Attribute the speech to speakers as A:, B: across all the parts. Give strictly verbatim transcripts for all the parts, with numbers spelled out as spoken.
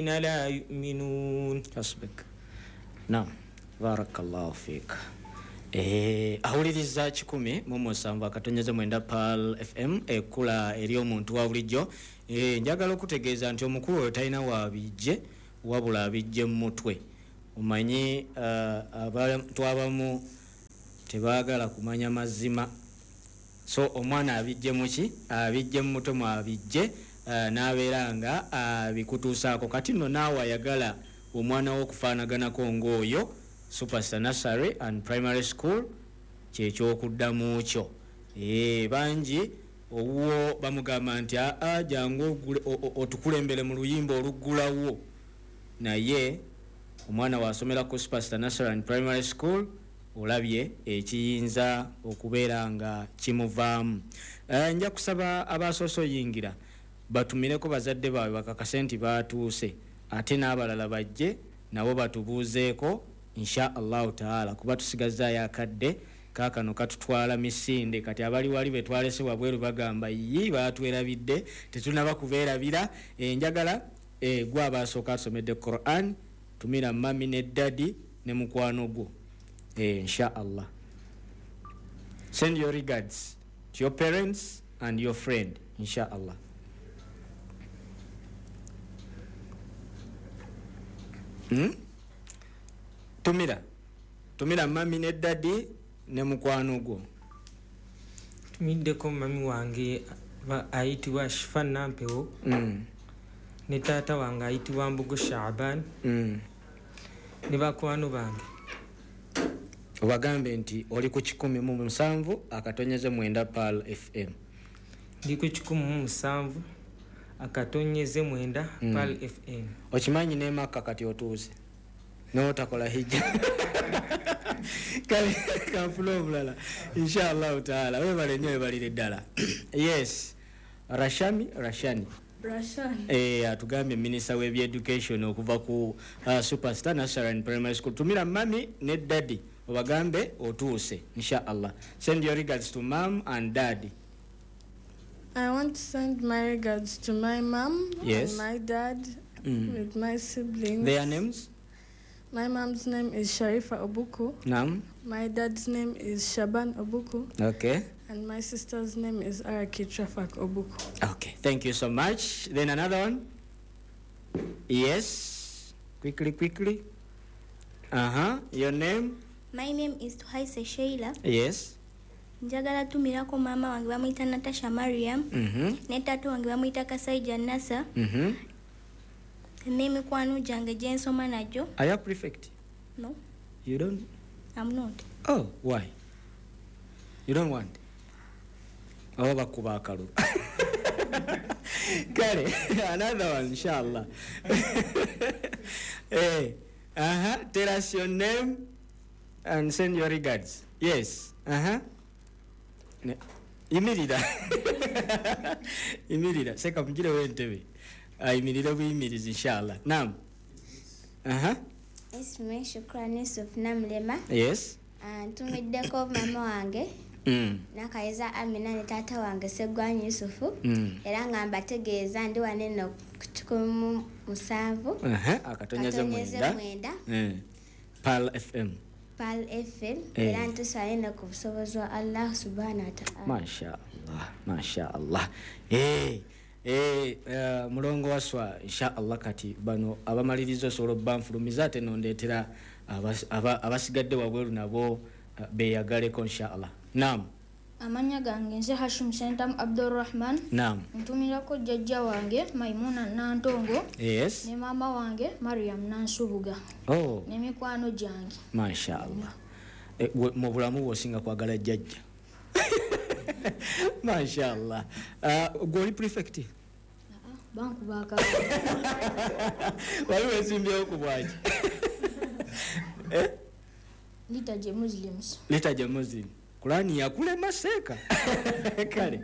A: لا يؤمنون.
B: حسبك. نعم بارك الله فيك. Eh, awuliriza kikumi mu musanvu akatonyeze mwenda Pearl F M ekula eri omuntu wa bulijjo. Eh, njagala okutegeeza nti omukulu oyo talina waabijje wabula abijje mu mutwe. Omanyi uh, abantu abamu tebaagala kumanya mazima, so omwana abijje muki, abijje mu mutwe mwabijje uh, n'abeera nga abikutuusaako. Kati nno naawe ayagala omwana wo okufaanaganako ng'oyo, Superstar Nursery and Primary School kyekyokuddamu kyo. Eh, bangi owuwo bamugamba nti aa jangu otukulembere mu luyimba oluggulawo, naye omwana wasomera ku Superstar Nursery and Primary School olabye ekiyinza okubeera nga kimuvaamu. Eh, nja kusaba abasoose oyingira batumireko bazadde baabwe bakakase nti baatuuse, ate n'abalala bajje nabo batubuuzeeko insha Allahu taala, kuba tusigazaayo akadde kaakano katutwala misinde. Kati abali wali betwalese wabweru bagamba yi baatwerabidde, tetunaba kubeerabira. E, njagala e, gwe abasooka asomedde Quran, tumira mami ne daddy ne mukwano gwo. E, insha Allah send your regards to your parents and your friend insha Allah. Hmm? Tumira tumira mami ne daddy ne mukwano gwo.
A: Tumiddeko mami wange ayitibwa Shifa Nampewo,
B: mm.
A: ne taata wange ayitibwa Mbugo Shaban,
B: mm.
A: ne bakwano bange.
B: Obagambe nti oli ku kikumi mu musanvu akatonyeze mwenda Pearl F M.
A: Ndi ku kikumi mu musanvu akatonyeze mwenda
B: mm.
A: Pearl F M.
B: Okimanyi ne Makka kati otuuse n'otakola hijja. Kale kanfuna omulala insha Allahu taala. Webale nnyo, webalire ddala. Yes, Rashami Rashani
C: Rashani
B: eh, atugambye minisita w'ebyeducation okuva ku uh, Superstar Nursery and Primary School. Tumira mami ne daddy obagambe otuuse insha Allah. Send your regards to mom and daddy.
C: I want to send my regards to my mom,
B: yes,
C: and my dad,
B: mm.
C: with my siblings.
B: Their names?
C: My mom's name is Sharifa Obuku.
B: Naam.
C: My dad's name is Shaban Obuku.
B: Okay.
C: And my sister's name is Araki Trafak Obuku.
B: Okay, thank you so much. Then another one. Yes. Quickly, quickly. Uh-huh. Your name?
D: My name is Tuhaise Sheila.
B: Yes.
D: Njagala tumirako mama wange bamuyita Natasha Mariam.
B: Mm-hmm.
D: Ne taata wange bamuyita Kasaija Nasa.
B: Mm-hmm.
D: N'emikwano gyange gye nsoma nagyo.
B: Are you prefect?
D: No.
B: You don't?
D: I'm not.
B: Oh, why? You don't want? Oh, bakuba akalulu. Kale, another one, inshallah. Hey, uh-huh. Tell us your name and send your regards. Yes. Uh-huh. Yimirira. Yimirira. Seka mugire w'entebe. Ayimirire buyimirizi inshallah. Naam. Aha.
E: Ismi Shukrani Yusuf Namlema.
B: Yes.
E: Ntumiddeko mama wange
B: Mm.
E: Nakaiza Amina ne taata wange Segwanyi Yusufu.
B: Mm.
E: Era nga mbategeeza ndi wano eno ku kikumi mu musanvu
B: Aha, akatonyeze mwenda.
E: mwenda.
B: Mm. Pearl F M.
E: Pearl F M.
B: Eh.
E: Era ntusaba eno ku busobozi bwa Allah subhanahu wa ta'ala.
B: Masha Allah, Masha Allah. Eh. Eh, uh, mulongo waswa insha Allah. Kati bano abamaliriza osobola obbanfulumiza ate nondeetera abasigadde wabweru nabo uh, beeyagaleko insha Allah. Naam.
F: Amannya gange nze Hashim Sentam Abdurrahman.
B: Naam.
F: Ntumirako jjajja wange Maimuna Nantongo.
B: Yes.
F: Ne maama wange Mariam Nansubuga.
B: Oh.
F: Ne mikwano gyange.
B: Masha Allah. Eh, mu bulamu bw'osinga kwagala jjajja. Masha Allah. Uh, gwe oli prefect?
F: Bankuba akalulu.
B: Wali weesimbyewo ku bwaki? Eh?
F: Liturgy Muslims.
B: Liturgy Muslim. Kulani yakulema seeka. Kale.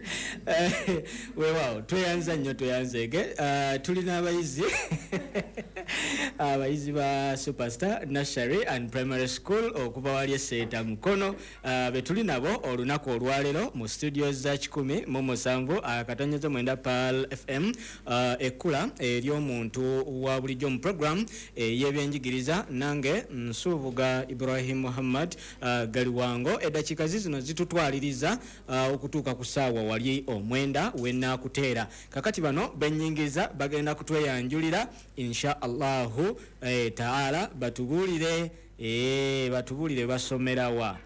B: Weewaawo tweyanza nnyo tweyanzeege. Uh, tulina abayizi Abayizi ba Superstar Nursery and Primary School okuva wali eseeta Mukono, uh, betuli nabo olunaku olwaleero mu studios za kikumi mu musanvu akatonyeze mwenda Pearl F M, uh, ekkula ery'omuntu wa bulijjo mu program ey'ebyenjigiriza. Nange Nsubuga Ibrahim Muhammad uh, Galiwango. Eddakiika zizino zitutwaliriza uh, okutuuka ku ssaawa wali omwenda wenaakuteera. Kakati bano benyingiza bagenda kutweyanjulira insha Allahu eh, taala, batubuulire eh, batubuulire basomerawa,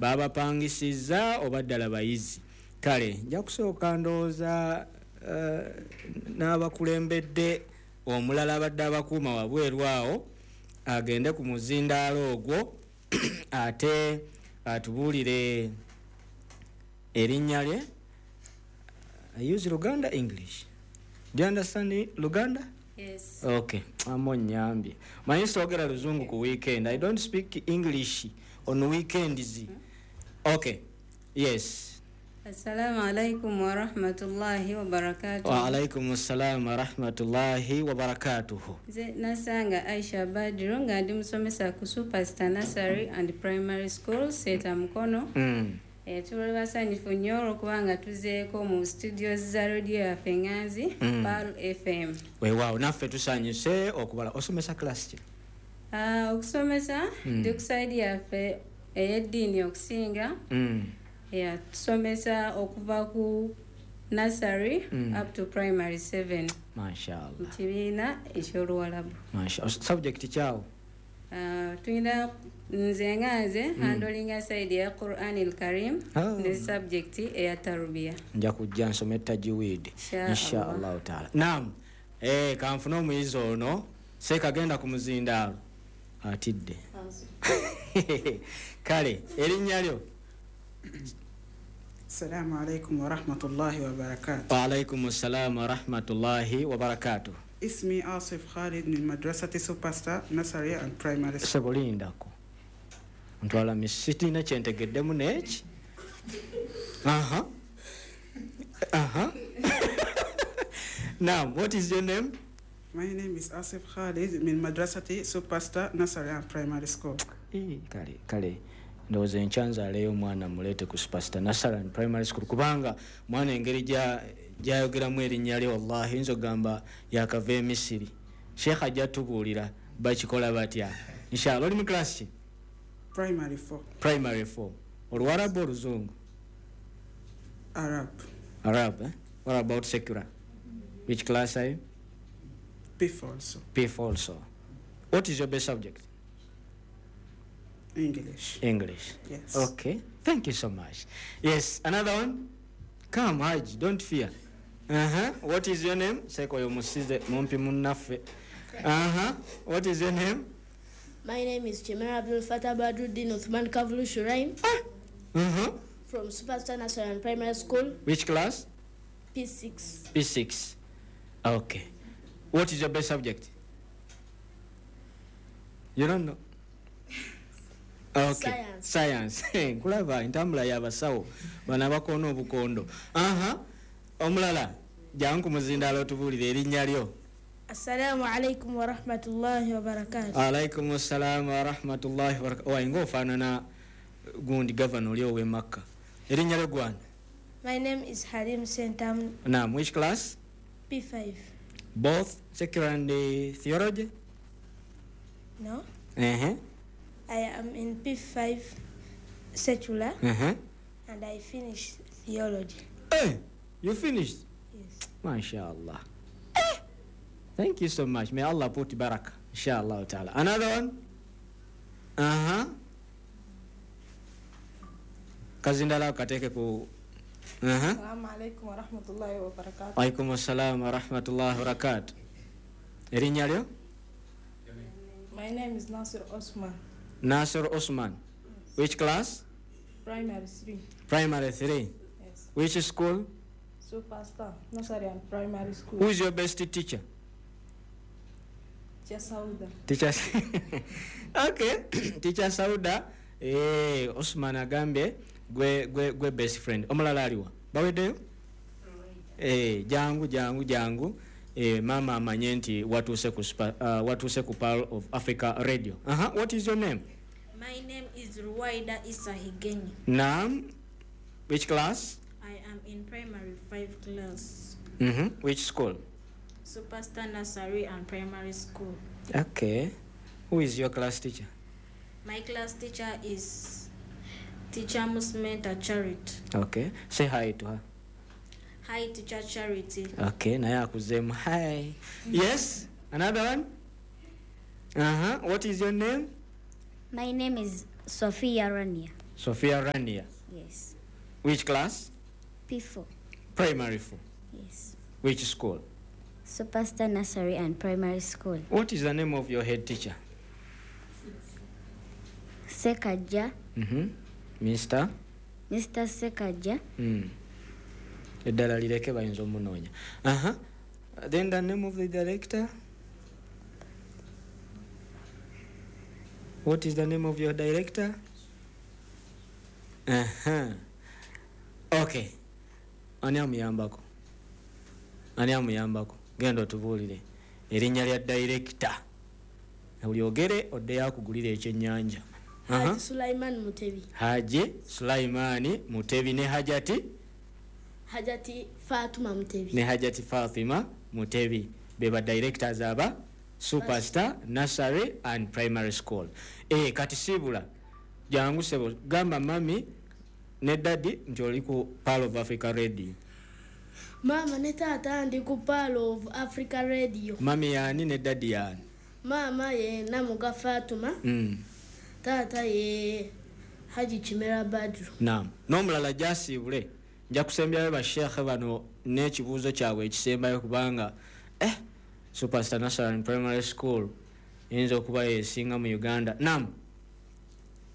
B: babapangisiza oba ddala bayizi. Kale nja kusooka ndowooza uh, n'abakulembedde omulala abadde abakuuma wabweru awo agende ku muzindaalo ogwo ate atubuulire erinnya lye. I use Luganda, English. Do you understand Luganda?
G: Yes.
B: Okay, amo nyambye. Manyi soogera Luzungu ku weekend. I don't speak English on weekends. Okay. Yes.
G: Assalamu alaikum wa rahmatullahi wa barakatuh.
B: Wa alaikum assalam wa rahmatullahi wa barakatuhu.
G: Nze Nasanga Aisha Badru nga ndi musomesa ku Superstar Nursery and Primary School Seeta Mukono.
B: Mm.
G: E, tuli basanyufu nnyo olw'okuba nga tuzeeko mu studios za radio yaffe Nganzi,
B: Mm.
G: Pearl F M.
B: Weewaawo, naffe tusanyuse okubala. Osomesa class ki?
G: Ah, okusomesa
B: Mm.
G: ndi ku side yaffe ey'eddiini okusinga.
B: Mm.
G: Yeah, tusomesa okuva ku nursery
B: Mm.
G: up to primary seven
B: Mashallah.
G: mu kibiina eky'Oluwalabu.
B: Mashallah. Subject kyawo?
G: Ah, tulina nze nga nze
B: Mm.
G: handlinga side ya Quran al Karim
B: Ah.
G: ne subject eya tarbiya.
B: Nja kujja nsome tajwid.
G: Insha
B: Insha Allahu taala. Naam. Eh, kanfune omuyizi ono seekagenda ku muzindaalo atidde. Kale erinnya lyo?
H: السلام عليكم ورحمة الله وبركاته.
B: Waalaikum ssalaamu warahmatullahi wabarakatuh.
H: اسمي آصف خالد من مدرسة سوبرستار Nursery and Primary School.
B: Sebo, lindako, ntwala misitina kyentegeddemu neki. Aha, aha, now what is your name?
H: My name is Asif Khalid من مدرسة Superstar Nursery and Primary School.
B: Eh, kale kale ndowooza enkya nzaaleyo omwana muleete ku Superstar Nursery and Primary School, kubanga mwana engeri gya- gyayogeramu erinnya lye, wallahi nza ogamba yakava e Misiri. Sheekh ajja tubuulira bakikola batya inshallah. Oli mu class ki?
H: Primary four.
B: Primary four. Oluwarabu, Oluzungu?
H: Arab.
B: Arab, eh? What about secular? Which class are you?
H: P four also.
B: P four also. What is your best subject?
H: English.
B: English?
H: Yes.
B: Okay, thank you so much. Yes, another one. Come, Haj, don't fear. Uh-huh. What is your name? Seko oyo musize mumpi munnaffe. Uh-huh. What is your name?
I: My name is Chimera Abdul Fatah Badruddin Uthman Kavlu Shuraim
B: Uh-huh.
I: from Superstar Nursery and Primary School,
B: Which class?
I: P six.
B: P six. Okay. What is your best subject? You don't know? Okay.
I: Science.
B: Science. Nkulaba entambula y'abasawo bano abakoona obukondo. Aha. Omulala, jangu ku muzindaalo otubuulire erinnya lyo.
I: Assalamu alaikum wa rahmatullahi wa barakatuh.
B: Alaikum assalaamu warahmatullahi wabarakatuh. Wayi ng'ofaanana gundi gavana oli ow'e Makka. Erinnya lyo gwana?
I: My name is Halim Sentam.
B: Naam, which class?
I: P five.
B: Both secular and uh, theology?
I: No,
B: Uh-huh.
I: I am in P five secular
B: Uh-huh.
I: and I finished theology.
B: Hey, you finished?
I: Yes.
B: MashaAllah. Eh, thank you so much. May Allah put baraka. Inshallah ta'ala. Another one? Uh-huh. Kazindala kateeke ku. Uh-huh.
C: Assalamu alaikum wa rahmatullahi wa barakatuh.
B: Alaikum assalam wa rahmatullahi wa barakatuh. Erinnya lyo?
C: My name is Nasir Osman.
B: Nasir Osman. Which class?
C: Primary three.
B: Primary three.
C: Yes.
B: Which school?
C: Superstar Nursery and Primary School.
B: Who is your best teacher?
C: Teacher Sauda.
B: Teacher. Okay. Teacher Sauda. Eh, Osman agambye gwe gwe gwe best friend. Omulala aliwa? Baweddeyo? Eh, jangu jangu jangu. Eh, mama amanye nti watuuse ku uh, watuuse ku Pearl of Africa Radio. Aha, uh-huh. What is your name?
J: My name is Ruwaida Isa Higenyi.
B: Naam. Which class?
J: I am in primary five class.
B: Mm-hmm. Which school?
J: Superstar Nursery and Primary School.
B: Okay. Who is your class teacher?
J: My class teacher is Teacher Musmenta Charity.
B: Okay. Say hi to her.
J: Hi, Teacher Charity.
B: Okay, naye akuzemu hi. Yes, another one. Uh-huh. What is your name?
E: My name is Sophia Rania.
B: Sophia Rania.
E: Yes.
B: Which class?
E: P four.
B: Primary four.
E: Yes.
B: Which school?
E: Superstar Nursery and Primary School.
B: What is the name of your head teacher?
E: Sekaja.
B: Mm-hmm. Mister?
E: Mister Sekaja.
B: Mm. Eddala lireke bayinza omunoonya. Aha. Then the name of the director? What is the name of your director? Aha. Okay. Ani amuyambako? Ani amuyambako? Genda otubuulire erinnya lya director. Olyogere oddeyo akugulira ekyennyanja.
I: Haji Sulaiman Mutebi.
B: Haji Sulaiman Mutebi ne Hajati
I: Hajati Fatima Mutebi.
B: Ne Hajati Fatima Mutebi beba directors aba Superstar Nursery and Primary School. Eh, kati sibula jangu sebo gamba mami ne daddy nti oli ku Pearl of Africa Radio.
I: Mama ne tata ndi ku Pearl of Africa Radio.
B: Mami yani ne daddy yani?
I: Mama ye Namuga Fatuma.
B: Mm.
I: Tata ye Haji Chimera Badru.
B: Naam. N'omulala gyasiibule nja kusembyayo basheekhe bano n'ekibuuzo kyabwe ekisembayo kubanga eh, Superstar Nursery and Primary School eyinza okuba yesinga mu Uganda. Naam.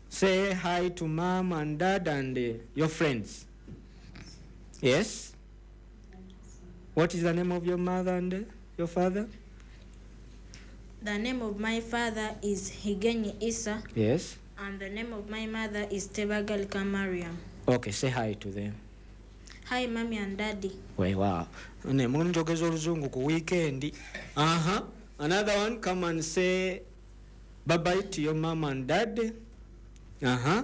B: Say hi to mom and dad and uh, your friends. Yes? What is the name of your mother and uh, your father?
J: The name of my father is Higenyi Isa.
B: Yes.
J: And the name of my mother is Tebagalika Mariam.
B: Okay, say hi to them.
J: Hi, mommy and daddy.
B: Wait, wow. Ne munjogeza oluzungu ku weekend. Uh-huh. Another one, come and say bye-bye to your mom and dad. Uh-huh.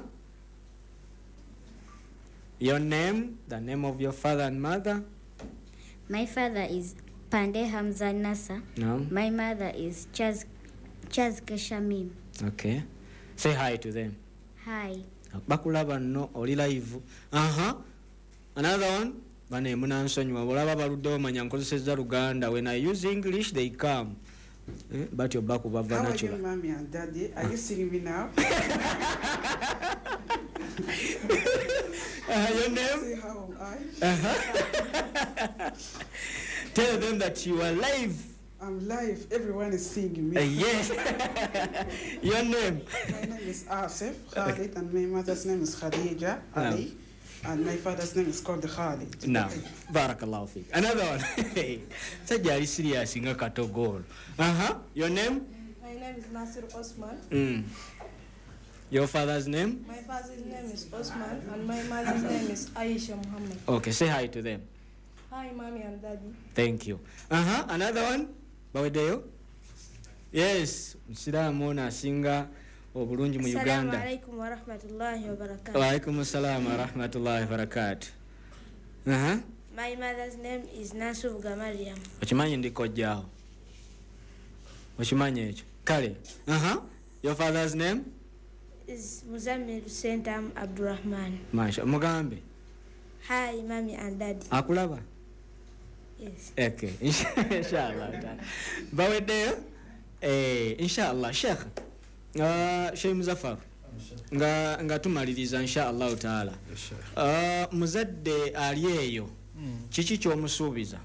B: Your name, the name of your father and mother.
E: My father is Pande Hamza Nasa.
B: No.
E: My mother is Chaz Chaz Kashamim.
B: Okay. Say hi to them.
E: Hi.
B: Bakulaba no oli live. Uh-huh. Another one. Bane munansonyiwa bolaba baluddewo manya nkozesezza Luganda. When I use English they come. Eh? But your back will
H: How are you, mommy and daddy? Are you seeing me now?
B: Uh, your name?
H: See how am I?
B: Uh-huh. Tell them that you are live.
H: I'm live. Everyone is seeing me.
B: Uh, yes. Your name?
H: My name is Asif Khalid, and my mother's name is Khadija Ali, no. And my father's name is called Khalid.
B: No. Barakallahu feek. Another one. Sajja ali serious nga katogolo. Uh-huh. Your name?
C: My name is Nasir Osman.
B: Mm. Your father's name?
C: My father's name is Osman, and my mother's name is Aisha Muhammad.
B: Okay, say hi to them.
C: Hi, mommy and daddy.
B: Thank you. Uh-huh. Another one? Bawedeyo? Yes. Musiraamu ono asinga obulungi mu Uganda.
K: Assalamu alaikum wa rahmatullahi wa barakatuh.
B: Wa alaikum assalam wa rahmatullahi wa barakatuh. Uh-huh.
K: My mother's name is Nasubuga Mariam.
B: Okimanyi ndi kojjaawo? Okimanyi ekyo? Kale. Uh-huh. Your father's name?
K: Is Muzammil Sentam Abdurrahman.
B: Masha, mugambe.
K: Hi, mommy and daddy.
B: Akulaba?
K: Yes.
B: Okay. Inshallah. Baweddeyo? Eh, inshallah. Sheikh. Uh, Sheikh Muzaffar. Nga nga tumaliriza inshallah taala. Uh, muzadde ali eyo. Mm. Kiki ky'omusuubiza?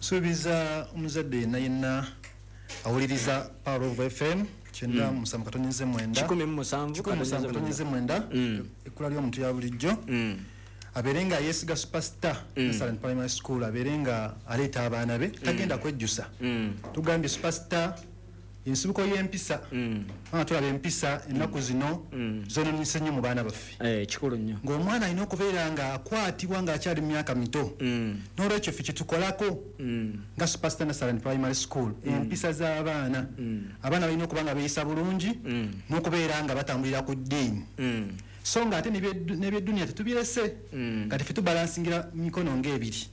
L: Suubiza omuzadde yenna yenna awuliriza Power of F M kyenda musanvu katonyeze mwenda
B: kikumi mu musanvu
L: katonyeze mwenda ekkula ly'omuntu ya bulijjo abeere nga yeesiga Superstar Nursery and Primary School, abeere nga aleeta abaana be tagenda kwejjusa. Tugambye Superstar Ensibuko y'empisa. Kubanga tulaba empisa ennaku zino zonoonese nnyo mu baana baffe.
B: Eh, kikulu nnyo.
L: Ng'omwana alina okubeera nga akwatibwa ng'akyali mu myaka mito. N'olwekyo ffe kye tukolako nga Superstar Nursery and Primary School, empisa z'abaana. Abaana balina okuba nga beeyisa bulungi n'okubeera nga batambulira ku ddiini. So ng'ate n'ebyeduniya tetubirese. Kati ffe tubalansingira mikono ng'ebiri.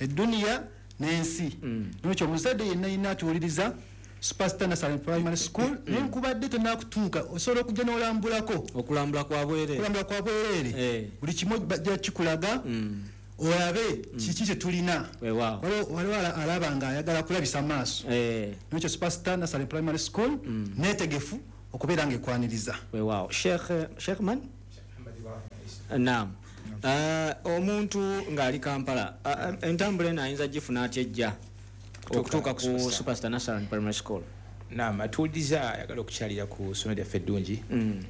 L: Edduniya n'ensi. N'olwekyo omuzadde yenna yenna atuwuliriza Superstar Nursery Primary School, nenkubadde tonnakutuuka osobola okujja n'olambulako.
B: Okulambula kwa bwereere.
L: Okulambula kwa bwereere. Buli kimu bajja kikulaga olabe kiki kye tulina. Waliwo alaba ng'ayagala kulabisa maaso. N'olwekyo Superstar Nursery Primary School neetegefu okubeera ng'ekwaniriza.
B: Weewaawo. Sheikh Sheikh Man? Naam. Omuntu ng'ali Kampala, entambula eno ayinza gifuna atya ejja okutuuka ku Superstar Nursery Primary School?
M: Naam, atuwuliriza ayagala okukyalira ku ssomero lyaffe eddungi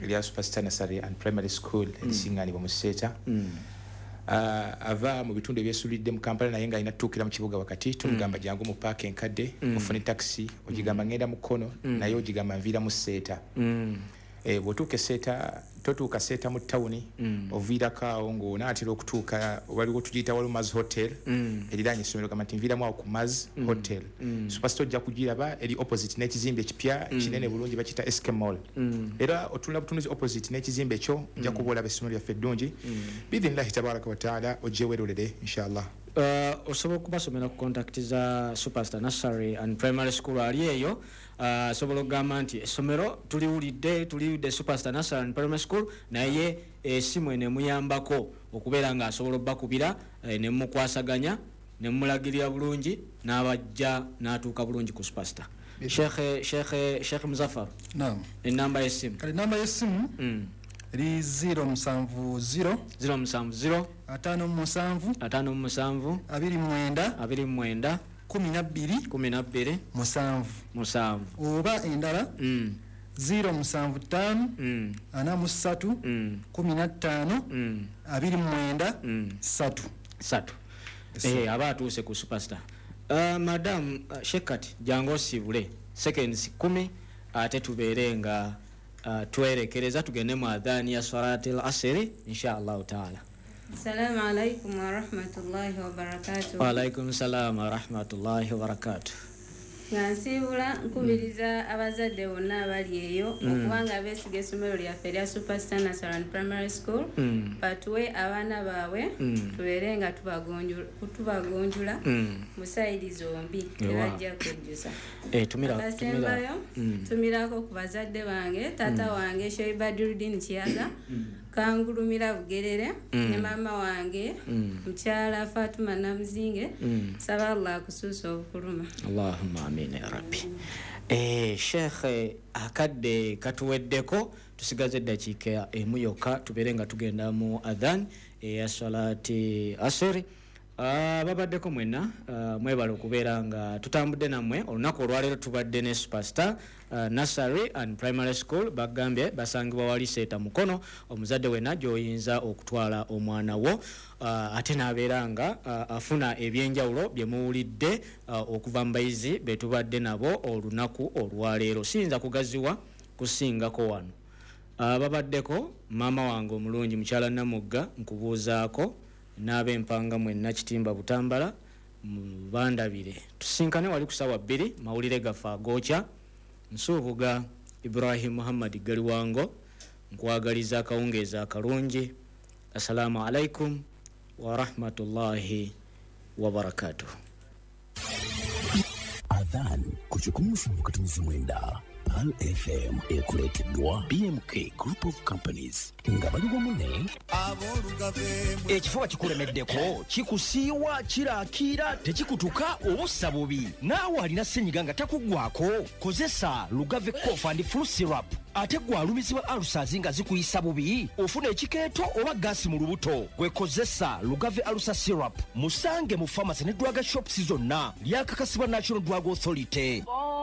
M: erya Superstar Nursery and Primary School erisiŋŋaanibwa mu Seeta. Ava mu bitundu ebyesulidde mu Kampala naye ng'alina tutuukira mu kibuga wakati, tumugamba jangu mu paaka enkadde ofune takisi, ogigamba ngenda mu kkono naye ogigamba nviira mu Seeta. Bw'otuuka e Seeta, totuuka Seeta mu ttawuni, oviirako awo ng'onaatera okutuuka waliwo tugiyita waliwo Maz Hotel eriraanye essomero, gamba nti nviiramu awo ku Maz Hotel. Superstar ojja kugiraba eri opposite n'ekizimbe ekipya kinene bulungi bakiyita S K Mall. Era otunula butunuzi opposite n'ekizimbe ekyo ojja kuba olaba essomero lyaffe eddungi. Biidhinillahi tabaraka wa taala ojje weerolere inshallah.
B: Osobola okubasomera ku contact za Superstar Nursery and Primary School ali eyo. Osobola okugamba nti essomero tuliwulidde tuliwulidde Superstar Nursery and Primary School, naye esimu eno emuyambako okubeera ng'asobola obbakubira ne mmukwasaganya ne mmulagirira bulungi n'abajja n'atuuka bulungi ku Superstar. Sheikh Sheikh Sheikh Muzaffar.
L: Naam.
B: Enamba y'essimu.
L: Kale namba y'essimu eri zero musanvu zero
B: zero musanvu zero
L: ataano musanvu
B: ataano musanvu
L: abiri mwenda
B: abiri mwenda
L: kumi na bbiri
B: kumi na bbiri
L: musanvu
B: musanvu
L: oba endala zero musanvu ttaano ana mu ssatu kumi na ttaano abiri mwenda ssatu
B: ssatu. Eh, aba atuuse ku Superstar. Uh, madam uh, Shekat jangu osiibule seconds kumi ate tubeere nga Uh, twerekereza tugende mu adhani ya salatil asiri insha Allah taala.
G: Assalamu alaikum wa rahmatullahi wa barakatuh.
B: Wa alaikum salam wa rahmatullahi wa barakatuh.
G: Nga nsiibula nkubiriza abazadde bonna abali eyo okubanga beesiga essomero lyaffe erya Superstar Nursery and Primary School, batuwe abaana baabwe tubeere nga tubagonjula mu sayidi zombi tebajja kwejjusa. Akasembayo tumirako ku bazadde bange, taata wange Sheikh Badruddin Kiyaga Kangulumira Bugerere ne maama wange mukyala Fatuma Namuzinge, saba Allah akusuusa obukuluma.
B: Allahumma amina ya Rabbi. Eh, Sheikh akadde katuweddeko, tusigaze eddakiika emu yokka tubeere nga tugenda mu adhan eya salati asiri. Uh, babaddeko mwenna uh, mwebale okubeera nga tutambudde nammwe olunaku olwaleero. Tubadde ne Superstar uh, Nursery and Primary School, bagambye basangibwa wali Seeta Mukono. Omuzadde wenna gy'oyinza okutwala omwana wo uh, ate n'abeera nga uh, afuna ebyenjawulo bye muwulidde uh, okuva mu bayizi be tubadde nabo olunaku olwaleero. Siyinza kugaziwa kusingako wano. Uh, babaddeko maama wange omulungi mukyala Namugga, nkubuuzaako n'ab'empanga mwenna Kitimba Butambala bandabire. Tusinkane wali ku ssaawa bbiri mawulire gaffe agookya. Nsuubuga Ibrahim Muhammad Galiwango, nkwagaliza akawungeezi akalungi. Assalamu alaikum wa rahmatullahi wa barakatuh.
N: Adhan ku kikumi musanvu katonzi mwenda Pearl F M ekuleeteddwa B M K Group of Companies nga bali wamu ne
O: ekifo kikulemeddeko kikusiiwa kirakiira tekikutuka obussa bubi naawe alina ssenyiga nga takuggwako kozesa Lugave Cough and Flu Syrup. Ate gwe alumizibwa ulcers nga zikuyisa bubi ofuna ekikeeto oba gaasi mu lubuto gwe kozesa Lugave Ulcer Syrup. Musange mu pharmacy ne drug shops zonna lyakakasibwa National Drug Authority.